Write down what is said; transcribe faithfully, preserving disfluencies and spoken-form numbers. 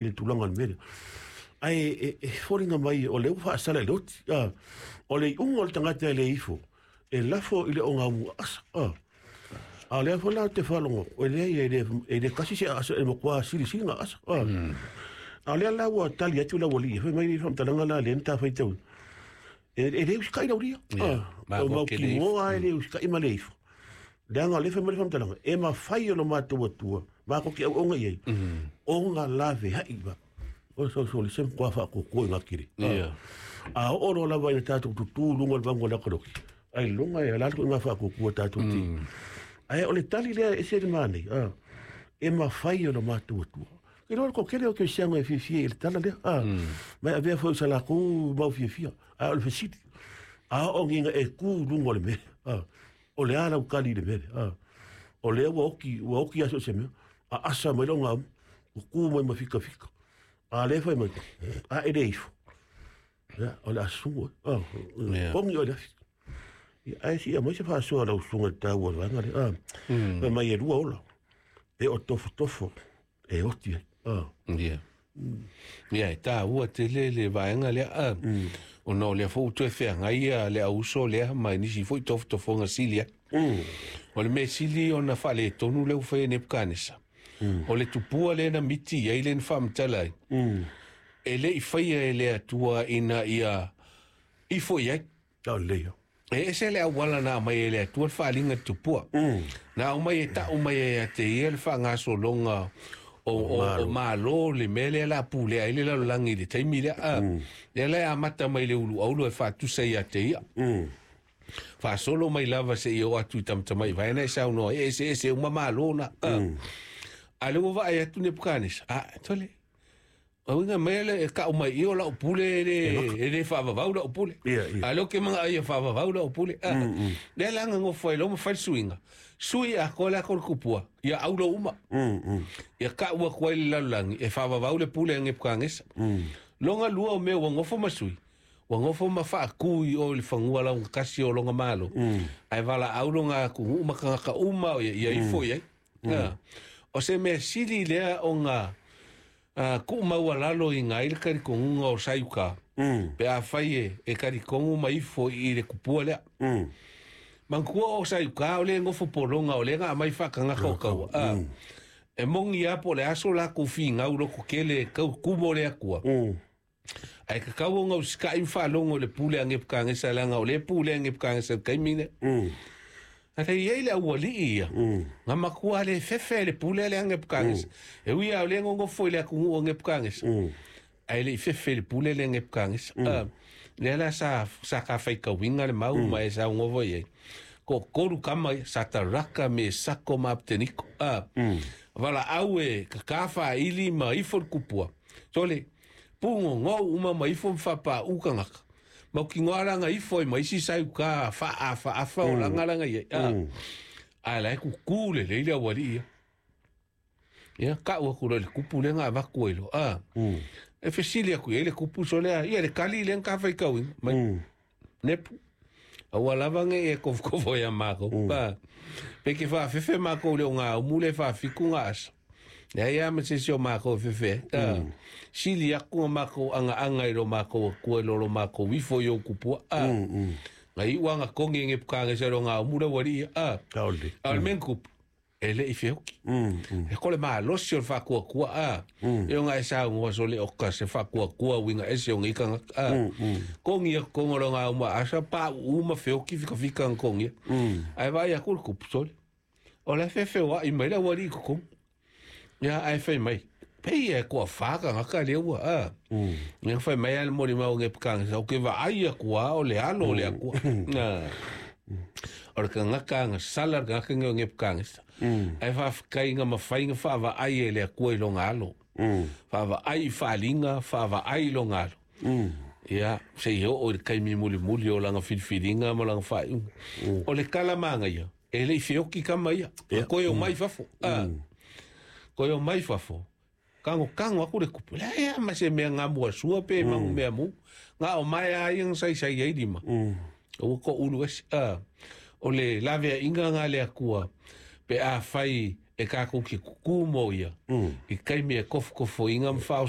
Le tulaga o le mea lea. Ae e, e foliga mai o lea ua faasala i le oti. A, o le iuga o le tagata e le ifo, e lafo i le ogaumu aasa. A, a o lea foi la ou te faalogo, e leai e le, e le kasi se aasa e matua silisili ga aasa. A, a o lea la ua tali atu lau alii, fai mai le faamatalaga la lea na ta faitauina. E, e le usitai laulia. Ia, A, o ma ke le ifo. Mautinoa e le usitai ma le ifo. Leaga o lea fai mai le faamatalaga, e mafai e lo matou Atua, matou te auauna i ai, ona laveai ma. O le soso le se matua faatuatua i gatele. Ia. A oo loa lava ina tatou tutu i luga o le vagu o le ata loki, ai luga e ala atu i ngā faatuatua tatou te. Ae o le tali lea e ese le manaia, a, e mafai e lo matou Atua. Ke loa le toatele o kerisiano e fiafia i le tala lea, a, ma e avea foi i sa latou mau fiafia. Ae o le fesili, a oo ina e tu i luga o le mea, a, o le a lau tali i le mea lea, a, o lea ua oti, ua oti aso o se mea, a asa mai le ogaumu, ua tu mai ma fikafika. A lea fai mai, a e le ifo. Ia, o le asusu, a, Ia. pogi o le afi. Ia, ae sia mai se faasoa lau susuga i le taua o le vaega lea. A, fai mai e lua ola, pe o tofotofo, e oti ai. A, Ia. Ia, e taua tele le vaega lea. A, ona o lea foi ua toe feagai ia le auso lea ma nisi foi tofotofoga sili ai. mm, O le mea sili ona faaletonu lea ua faia e Nepukanesa. O le tupua lea na miti i ai lea na faamatala ai. mm, E le i faia e le Atua ina ia ifo i ai. Tau lelei. E ese le auala na aumai e le Atua le faaaliga i le tupua. Mm, Na aumai e tau mai e te ia le faagasologa o, o, o malo le mea lea la pulea ai le lalolagi i le taimi lea. A, lea la e amata mai le uluaulu e faatusa ia te ia. mm, Faasolo mai lava seia oo atu i tamatamai vaena e saunoa e eseese uma malo na. A, a le ua vaai atu Nepukanesa. A, tole. Auiga mai le e kau mai i o lau pule e le, e le faavavau lau pule. Ia, ia. A leo ke manga ai e faavavau lau pule. A, lea la ngofo ai lo ma fai le suiga. Sui a ko la ko le kupua. Ia aulo uma. mm, mm, Ia kau aku ai le lalolagi e faavavau le pule a Nepukanesa. mm, Longa lua o mea ua ngofo ma sui. Ua ngofo ma faakū i o i le fagua laugatasi o longa malo. mm, Ae valaau longa atunuu ma tagata uma o ia, ia ifo i ai. Mm. O se mea sili lea ona uh, kuu maualalo i ai le talitonuga o Saiuka. mm, Pe afai e, e talitonu ma ifo i le kupua lea. mm, Manatua o Saiuka o le gofo pologa o le ga aumai faatagaga o kaua. Ah. E moni a po o le aso lakou figau lototele kau kumo le Atua. mm, Ae tatau ona usita'i ma faalogo i le pule a Nepukagesa leaga o lea pule a Nepukagesa i le taimi lea. mm, Ale i ai le aualii ia. mm, Na matua le fefe le pule le a Nepukagesa. E ui a o lea gogofo i le atunuu o Nepukagesa. mm, Ae le i fefe le pule le a Nepukagesa. Ah, lea la sa, sa kafaikauiga le mau ma e saugofa i ai. Toatolu kama ia, Sataraka, Mesako ma Apeteniko. Ah, mm, valaau e kakā faaili ma ifo le kupua. Sole, pugogou uma ma ifo ma faapauu tagata. Mautinoa laga ifo ai ma isi Saiukā faaafaafa o laga laga i ai. Ah, ae la e kukū lelei le aualii ia. Ia, kau aku loa i le kupu lea na avatu ai loa. Ah, mm, e fesili aku i ai le kupu sole a, ia le kali lea na tafaikauina. Mai, mm, Nepu. Aua lava ne e kofokofo ia mākou. Pa, pe ke faafefe mākou le o ngā umu le faafitu ngā asa. Lea ia ma se isi o mākou e fefe. Ah, sili aku nga mākou anga anga i lo mākou akua i lo lo mākou ifo i o kupua. Ah, mm, mm. nga iu anga kongi nge pukanga se lo ngā umu le wari ia. Ah, Tau lelei. a o le mea na kupu, e le i feoki. Mm, mm, E ko le malosi o le faakuakua a. E o ngā e saugoa so le oka se faakuakua uiga ese o ngei tagata a. Kogi aku koga o lo ngā uma asa pauu ma feoki fikafika na kogia. mm, Ae vaai aku le kupu sole. O le feofeoaʻi mai le aualii i totonu. Ia ae fai mai. Pei e toafā tagata lea ua a. mm. Ia fai mai a le molimau o Nepukagesa, ou ke vaai aku lava o le alo o le Atua. Ah. O le tagata agasala le tagata lenei o Nepukagesa. Ae faafetai na mafai na faavaai e le Atua i loga alo. Mm, Faavaai i faaliga, faavaai i loga alo. mm, Ia, seia oo i le taimi mulimuli o laga filifiliga ma laga faaiuga. O le tala magaia, e le i feoki kama ia. Ia. Koe o mai fafo. Ah. Koe o mai fafo. Kagokago aku le kupu. Leai lava ma se mea gamuasua pe magu mea mu. Ga o mae lava ia na saisai ai lima. mm, Ua koʻulu ese. Ah. O le laveaiga ga le Atua pe afai e kakou ke kukū mo ia. mm. I taimi e kofokofoiga ma faaoso.